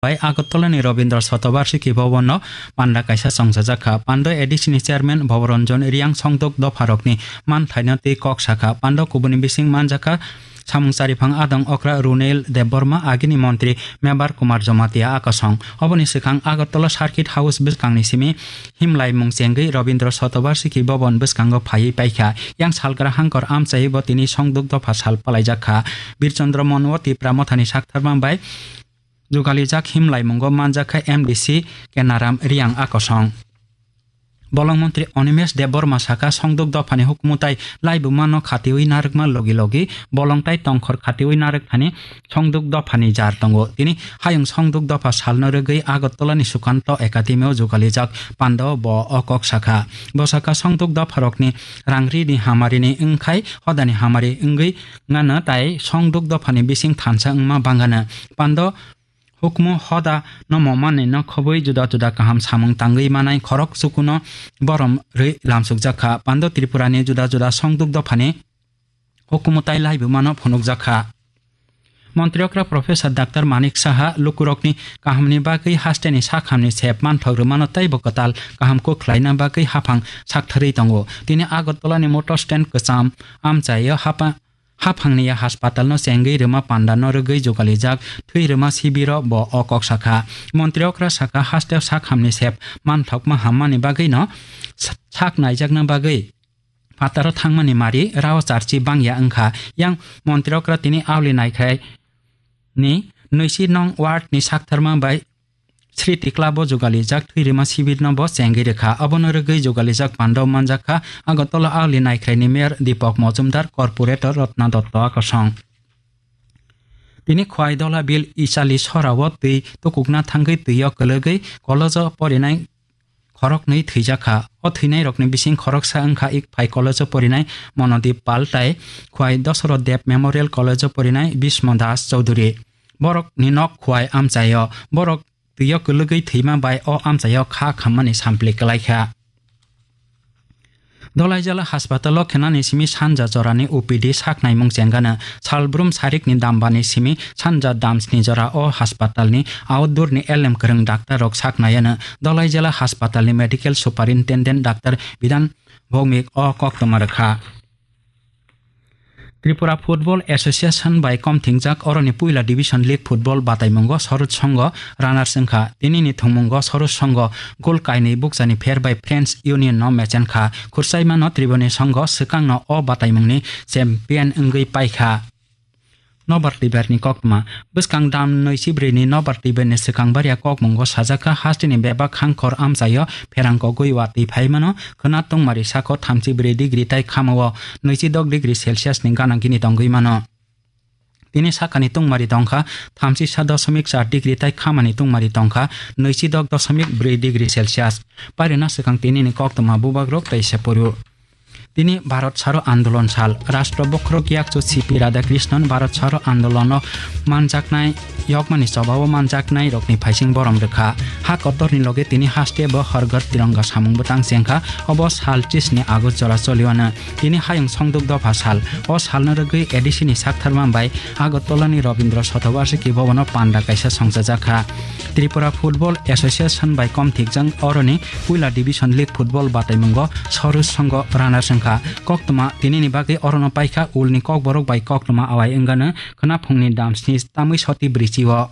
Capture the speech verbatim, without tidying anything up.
bai Agartala ni Rabindra Shatabarshiki Bhavan no panda kaisa chongchajak kha. Pando A D C ni chairman Bhabaranjan Riyang songduk dopha rokni manthaino tei kok sakha. Pando kubuni bising manjakha samung chariphang adong okra Runel Debbarma, agini montri Mebar Kumar Jamatia akosong. Oboni swkang Agartala Circuit House bwskangni simi himlaimung chengwi Rabindra Shatabarshiki Bhavan bwskango phaiwi paikha. Yang salgra hangkor amchaiwi bo tini songduk dopha sal palaijak kha. Birchandra Monwo Tipra Mothani saktharma bai jugalijak himlaimungo manjakha M D C Kenaram Riyang akosong. Bolong montri Animesh Debbarma saka songduk dophani hukumu tai laibuma no khatiwi narwkma logi logi bolong tai tongkhor khatiwi narwk thani songduk dophani jar tongo. Tini hayung songduk dopha salno rwgwi Agartala ni Sukanto Academy o jugalijak panda o bo o kok sakha. Bo saka songduk dopha rokni rangri ni hamari ni wngkhai hodani hamari wngwi ngano tai songduk dophani bising thansa wngma bangano. Pando hukumu hoda no momani no khobwi juda juda kaham samung tangwi manai khorok chukuno borom rwi lamsukjak kha. Pando Tripura ni juda juda songduk dophani hukumu tai laibuma no phunukjak kha. Montri okra Professor Doctor Manik Saha lukurokni kahamni bagwi hasteni sakhamni sep manthok rwmano teibo kwtal kaham kuk khlaina bagwi haphang saktharwi tongo. Tini Agartala ni motor stand kwcham amchaio hapa haphangni ya haspatal no chengwi rwma panda no rwgwi jugalijak thwi rwma sibiro bo o kok sakha. Montri okra saka hasteo sakhamni sep manthokma hammani bagwi no sa-, sak naijakna bagwi phataro thangmani mari rao charchi bangya wngkha. Yang montri okra tini auli naikhai ni nwichi nong ward ni saktharma bai Sri Tikla bo jugalijak thwi rwma sibir no bo chengwi rwkha. Abono rwgwi jugalijak panda o manjakha Agartala auli naikhrai ni mayor Deepak Majumdar, corporator Ratna Dotto akosong. Tini Khwai Dola Bill Ichali sora o twi tukukna thangwi twi o kwlwgwi college o porinai khoroknwi thwijak kha. O thwinairokni bising khoroksa wngkha Ikphai College-o porinai Monodip Pal tai Khwai Dosoroth Deb Memorial College-o porinai Bhismo Das Chowdhury. Borokni nok Khwai amchaio. Borok twio kwlwgwi thwima bai o amchaio kha khammani sampli kwlaikha. Dolaijala haspatalo khenani simi sanja jorani O P D saknaimung chengano. Salbrum sarikni dambani simi sanja damsni jora o haspatalni outdoorni elem kwrwng daktarrok saknaiano. Dolaijala haspatalni medical superintendent Doctor Bidan Bhowmik o koktwma rwkha. Tripura Football Association bai komthingjak oroni puila Division League Football bataimungo Soroj Songho runners wngkha. Tinini thwngmungo Soroj Songho goal kainwi bukchani pher bai Friends Union no mechenkha. Khursaimano Triboni Songho swkangno o bataimungni champion wngwi paikha. Nobar Tiberni koktwma. Bwskang dam nwi chibrwini Nobar Tiberni swkang baria kokmungo sajakha hasteni bebak hangkhor amchaio pherang kogwi watwi phaimano khwna tungmari sako thamchi brwi degree tai khamao nwichi dok degree Celsius ni gana gini tongwi mano. Tini sakani tungmari tongkha thamchi sa dosomik char degree tai khamani tungmari tongkha nwichi dok dosomik brwi degree Celsius. Pairwna swkang tinini koktwma bubagrok tei se poro. Tini Bharat Chharo Andolon sal. Rashtra bokhorok yakchu C P Radhakrishnan Bharat Chharo Andolono manjaknai, yokmani chobao manjaknai rokni phaising borom rwkha. Ha kotorni loge tini haste bo Har Ghar Tiranga samung bwtang chengkha. Obo sal tris ni August jora choliwano. Tini hayung songduk dopha sal. O salno rwgwi A D C ni saktharma bai Agartala ni Rabindra Shatabarshiki Bhavan o panda kaisa songchajakha. Tripura Football Association bai komthikjak oroni puila Division League Football bataimungo Soroj Songho runners wngkha. Koktwma tinini bagwi orono paikha ulni kokborok bai koktwma awai wngano khwnaphungni dam sni tamwi soti brichio.